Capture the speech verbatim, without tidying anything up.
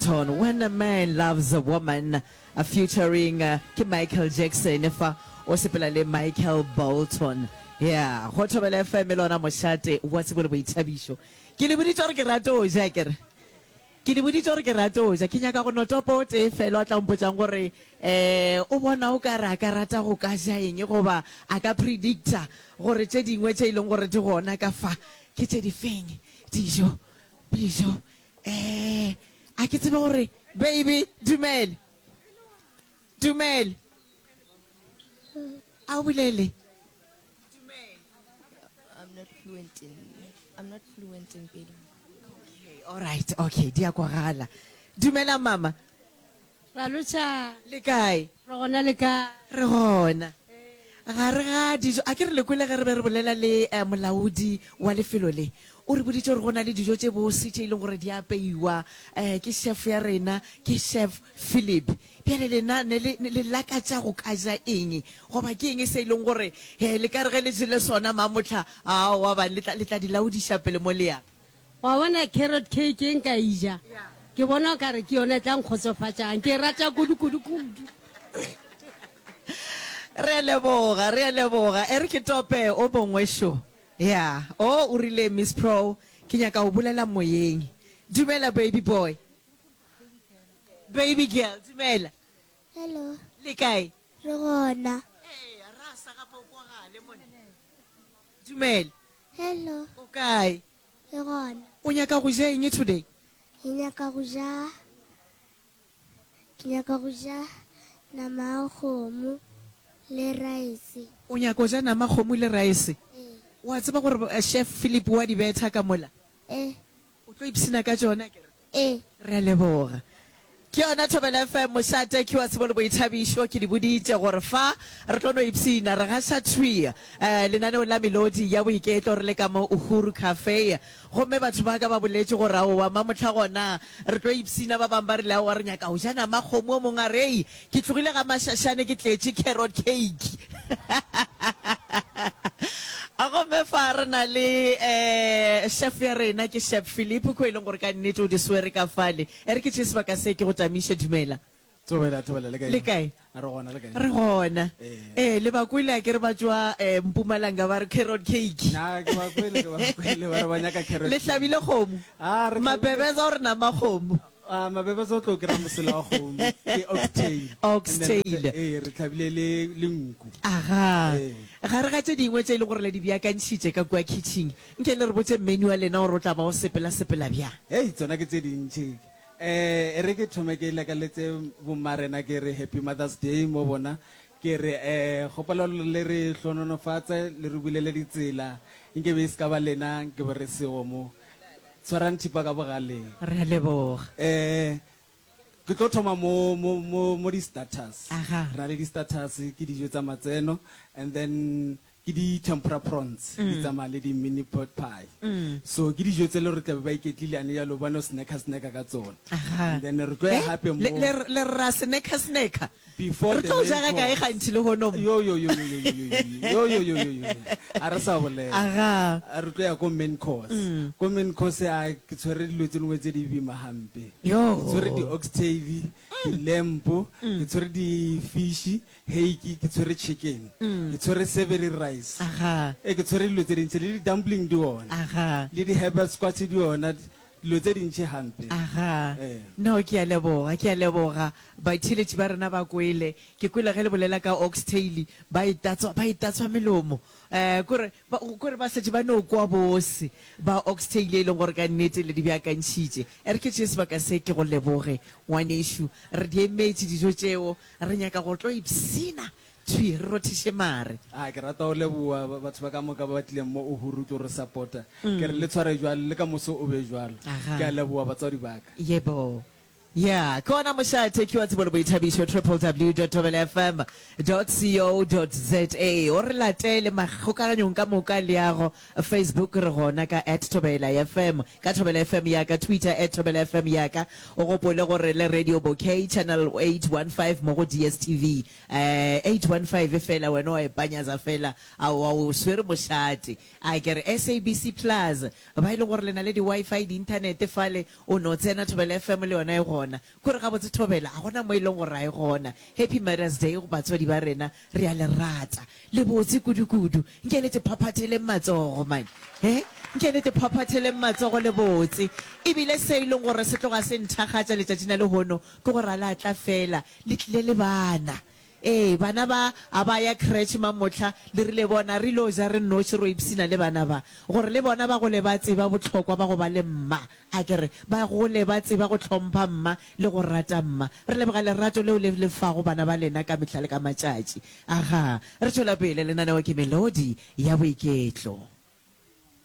Bolton, When a Man Loves a Woman, featuring ke Michael Jackson fa o sepela le Michael Bolton. Ya, go Thobela F M e lona mošate wa tsebo le boithabišo. Ke le boditše gore ke rata o ja, ke re. Ke le boditše gore ke rata o ja. Ke nyaka go no topa o tee fela o tla mpotšang gore eh o bona o ka re a ka rata go ka ja eng goba a ka predicta gore tše dingwe tše e leng gore di gona ka fa ke tše di feng. Dijo, dijo. Eh, a ke tsebe gore baby dumele. Dumele. A o bolele. I'm not fluent in I'm not fluent in Pedi. Okay, all right, okay, di a kwagala. Dumela mama. Ra lotšha. Le kae? Re gona, le kae? Re gona. Gare ga dijo, a ke re le kwele ge re be re bolela le eh, molaodi wa lefelo le. O re boditše gore go na le dijo tše bose tše e leng gore di apeiwa eh, ke chef ya rena, ke Chef Philip. Bjale lena ne le, le lakatša go ka ja eng? Goba ke eng se e leng gore eh, le ka re ge le jele sona mamohla, aowa bane, le tla, le tla di laodiša pele mo le yang? Wa bona carrot cake e nka e ja, ke bona o ka re ke yona e tla nkgotsofatšang. Ke e rata kudu, kudu, kudu. Re a leboga, re a leboga. E re ke tope o mongwe šo. Ya, o, o rile, Miss Pro, ke nyaka go bolela moyeng. Dumela, baby boy. Baby girl, dumela. Hello. Le kae? Re gona. Ee, ra sa gape o kwagale monna. Dumela. Hello. O kae? Re gona. O nyaka go ja eng today? Ke nyaka go ja, ke nyaka go ja nama ya kgomo le rice. O nyaka go ja nama kgomo le rice? Ee. Wa tseba gore Chef Philip wa di betha ka mola? Ee. O tlo ipshina ka tšona akere? Ee. Re a leboga. Ke yona Thobela F M, mošate ke wa tsebo le boithabišo. Ke di boditše gore fa re tlo no ipshina, re gaša thwi eh, lenaneo la Melodi ya Boiketlo re le ka mo Uhuru Cafe. Gomme batho ba ka ba boletše gore aowa mamohla gona re tlo ipshina, ba bangwe ba rile aowa re nyaka go ja nama kgomo, o mongwe a re ei ke tlogile ga Mašašane ke tletše carrot cake. Gomme fa re na le eh, chef ya rena ke Chef Philip, ko e leng gore ka nnete o di swere ka fale. E re ke tšee sebaka se ke go tamiše. Dumela. Thobela, thobela, le kae? Le kae? A re gona, le kae? Re gona. Ee. Ee, le ba kwele a ke re ba tšwa eh, Mpumalanga ba re carrot cake. Na ke ba kwele, ke ba kwele ba re ba nyaka carrot Le cake. hlabile kgomo? Ah, re hlabile. Mabebeza o re nama kgomo. Ah, mabebeza o tlo kry-a mosela wa kgomo, ke oxtail. Oxtail. And then re tla-, ee, re hlabile le, le nku. Aga. Ee. Gare ga tše dingwe tše e leng gore le di beakantšhitše ka kua kitchen, nke le re botše menu wa lena gore o tla ba o sepela-sepela bjang. Hei, tsona ke tše dintši. Eh, e re ke thome ke lekaletse bomma rena ke re Happy Mother's Day mo bona. Ke re, eh, kgopelo le re hlononofatse, le re bulele ditsela. Nke be e se ka ba lena, nke be re sego mo. Tshwarang thipa ka bogaleng. Re a leboga. Eh, ke tlo thoma mo, mo, mo, mo di-starters. Aha. Re na le di-starters, ke dijo tsa matseno, and then ke di-tempura prawns, di tsamaya le di-mini pot pie. So ke dijo tse le gore tla be ba iketlile ane jalo, ba no snacka snacka ka tsona. Aha. And then re tlo ya Eh, gape mo le, le, le ra snacka snacka. Before Re the tlo main ja ga kae course. gantši lehono mo? Yo, yo, yo, yo, yo, yo, yo, yo, yo, yo, yo, yo. A re sa bolela. Aga. A re tlo ya ko main course. Ko main course a ke tshwere dilo tse dingwe tse di boima hampe. Yo. Ke tshwere di-oxtail, di-lamb, ke tshwere di-fish, hake, ke tshwere chicken. Ke tshwere savory rice. Aga. E ke tshwere dilo tse dintši, le di-dumpling di ona. Aga. Le di-herbal squash di ona, dilo tse dintši hampe. Aga. Eh. No, ke a leboga, ke a leboga. Batheeletši ba rena ba kwele. Ke kwele ge le bolela ka oxtail, ba e tatswa, ba e tatswa melomo. Eh, kore ba, kore ba šetše ba no kwa bose ba oxtail e leng gore ka nnete le di beakantšhitše. E re ke tšee sebaka se ke go leboge, ngwanešu. Re di emetše dijo tšeo, re nyaka go tlo ipshina thwi, re rothiše mare. A ke rata go leboga batho ba ka moka ba ba tlileng mo Uhuru tlo re support-a. Ke re le tshware jwalo, le ka moso o be jwalo. Aga. Ke a leboga batswadi ba ka. Yebo. Ya, ke ona mošate ke wa tsebo le boithabišo, www dot thobela f m dot co dot za. O re latele makgokaganyong ka moka leago, Facebook re gona ka at Thobela F M, ka Thobela F M ya ka, Twitter at Thobela F M ya ka. O gopole gore le Radio Bouquet channel eight one five mo go D S T V. Eh, eight one five fela wena wa e panyaza fela, aowa o swere mošate. A ke re S A B C Plus, ba e leng gore le na le di-Wi-Fi, di-internet fale, o no tsena Thobela F M le yona e gona. gona. Kore gabotse thobela, ga gona mo e leng gore a e gona. Happy Mother's Day go batswadi ba rena, re a le rata. Le botse kudu-kudu. Nke le te phaphatheleng matsogo, man. He? Nke le te phaphatheleng matsogo le botse. Ebile se e leng gore se tloga se nthakgatša letšatšing la lehono ke gore a la tla fela, le tlile le bana. Ee, bana ba a ba ya creche mamohla, le rile bona re ilo ja re nnoši ro ipshina le bana ba, gore le bona ba gole ba tseba bohlokwa ba go ba le mma, a ke re, ba gole ba tseba go hlompha mma le go rata mma. Re leboga lerato leo le le fago bana ba lena ka mehla le ka matšatši. Agaa, re tšwela pele, lenaneo ke Melodi ya Boiketlo.